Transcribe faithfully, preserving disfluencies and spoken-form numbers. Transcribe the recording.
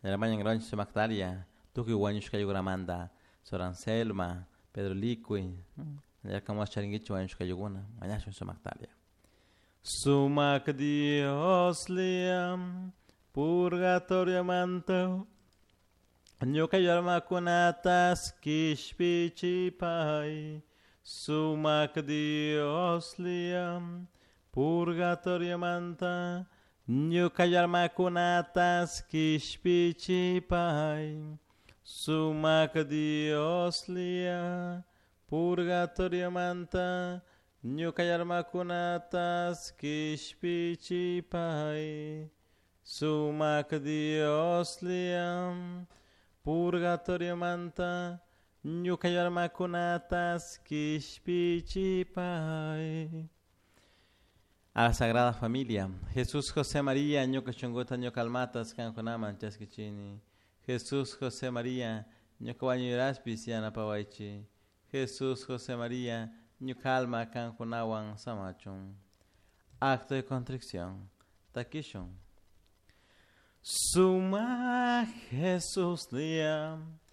Mañan rancho sumaktaria tukuy wañushkayukunamanta Sor Anselma, Pedro Liqui, yarkamush charinkichik wañushkayukuna mañashun sumaktaria. Sumak Dioslla purgatorio manta ñuka almakunatas kishpichipay. Sumak Dioslla purgatorio manta ñuka almakunatas kishpichipay. Sumak Dioslla purgatorio manta ñuka almakunatas kishpichipay. Sumak Dioslla purgatorio manta ñuka almakunatas kishpichipay. A la Sagrada Familia, Jesús, José, María, ñuka shunkuta, ñuka almatas kankunaman chaskichini. Jesús, José, María, ñuka wañuyraspis yanapawaychik. Jesús, José, María, ñuka alma kankunawan samachun. Acto de contrición. Takishun. Sumak Jesuslla.